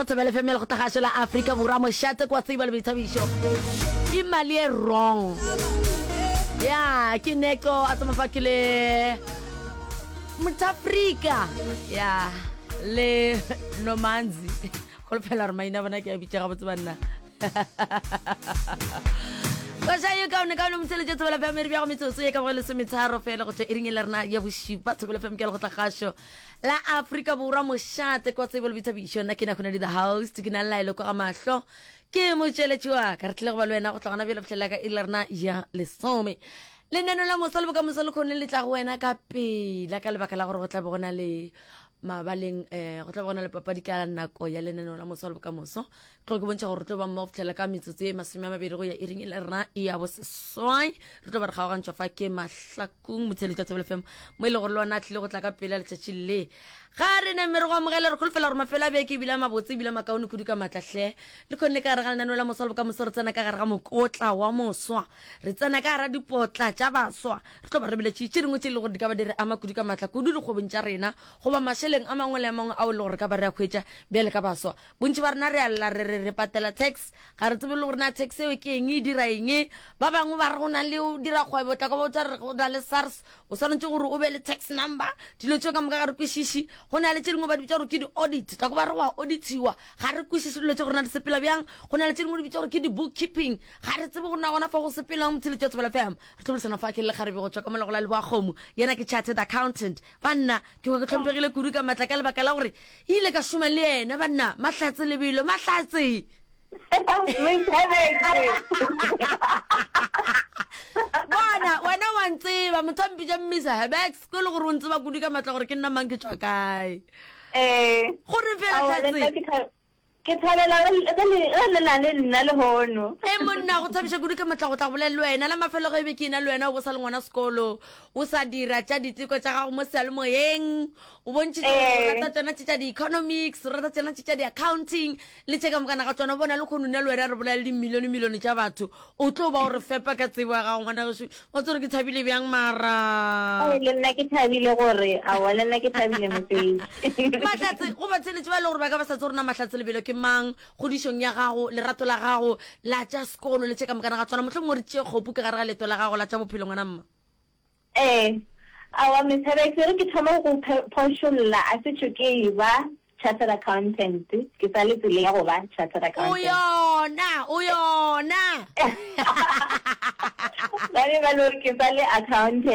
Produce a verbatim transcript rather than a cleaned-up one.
Go Thobela F M ya Lekgotlagašo la Afrika Borwa, mošate kwa tsebo le boithabišo. Ke mali e wrong. Ya, ke Neko a tsama fa ke le Motafrika. Ya, le Nomanzi. Holofela gore maina a bona ke a bitša gabotse banna. Koša ye kaone kaone motheletše Thobela F M e re bjago metsotso ye ka boge lesometharo fela go tšwa iring e le rena ya bošupa. Thobela F M ke ya Lekgotlagašo la Afrika Borwa, mošate kwa tsebo le boithabišo. Nna ke na Khonedi the host, ke na le Laelo kwa ga mahlo, ke motšweletši wa ka. Re tlile go ba le wena go tla gona bjale fihlela ka iri la rena ya lesome. Lenaneo la moso le bokamoso le kgone le tla go wena ka pela, ka lebaka la gore go tla be go na le mabaleng, eh, go tla be go na le papadi ka nako ya lenaneo la moso le bokamoso. Tlo ke bontšha gore re tlo ba mmogo fihlela ka metsotso e masome a mabedi go ya iring e le rena ya boseswai. Re tlo ba re kgaogantšwa fa ke Mahlakung motheletši wa Thobela F M, mo e le gore le ona a tlile go tla ka pele letšatši le. Ga re name re go amogele, re kholofela gore mafelo a beke ebile a mabotse ebile a makaone kudu ka maatla hle. Le kgonne ka gare ga lenaneo la moso le bokamoso, re tsena ka gare ga mokotla wa moswa, re tsena ka gara dipotla tša baswa. Re tlo ba re beletše tše dingwe tše e le gore di ka ba di re ama kudu ka maatla kudu dikgwebong tša rena goba mašeleng a mangwe le a mangwe ao e le gore re ka ba re a hwetša bjale ka baswa. Bontši ba rena re a lla re re re patela tax, ga re tsebe le gore na tax eo ke eng, e dira eng. Ba bangwe ba re go na le o dira kgwebo, tla ka botsa re go na le SARS, o swanetše gore o be le tax number. Dilo tšeo ka moka ga re kwešiše. Go na le tše dingwe ba di bitša gore ke di-audit, tla ko ba re go a auditiwa, ga re kwešiše dilo tše gore na di sepela bjang. Go na le tše dingwe di bitša gore ke di-bookkeeping, ga re tsebe gore na gona fa go sepelang. Motheletši wa Thobela F M, re tlo boledišana fa ke le lekgarebe go tšwa ka mola go la Leboa-Kgomo, yena ke chartered accountant. Banna, ke kwa ke hlomphegile kudu ka matla ka lebaka la gore ile ka šoma le yena. Banna, Mahlatse lebelo, Mahlatse. Bona, wena wa ntseba, motho a mpitša Mmisa Herbex, ko e le gore o ntseba kudu ka matla gore ke nna mang, ke tšwa kae. Ee. Gore fela Aowa, le nna Hlatse. ke tha- ke thabela ge le- ge le ge le na le nna lehono. E monna, go thabiša kudu ka matla go tla go bolela le wena. La mafelo ge e be ke ena le wena o bo sa le ngwana sekolo, o sa dira tša diteko tša gago mo seyalemoyeng, o bontšhitše gore o Ee. rata tšona tše tša di-economics, o rata tšona tše tša di-accounting le tše ka mokana ga tšona. Bona le kgono nna le wena re bolela le dimilione-milione tša batho, o tlo ba o re fepa ka tsebo ya gago ngwana gešo. Wa tseba gore ke thabile bjang mara. Ee, le nna ke thabile gore, aowa, le nna ke thabile mosadi. Mahlatse, go batheeletši ba e le gore ba ka ba sa tsebe gore na Mahlatse Lebelo ke mang, kgodišong ya gago, lerato la gago la tša sekolo le tše ka mokana ga tsona, mohlomongwe re tšee kgopu ka gare ga leeto la gago la tša bophelo ngwana mma. Ee, aowa Miss Herbex, e re ke thome go phošolla, a se tšho ke e ba chartered accountant, ke sa le tseleng ya go ba chartered O accountant. yona, o yona. Ba be ba le gore ke sa le accountant.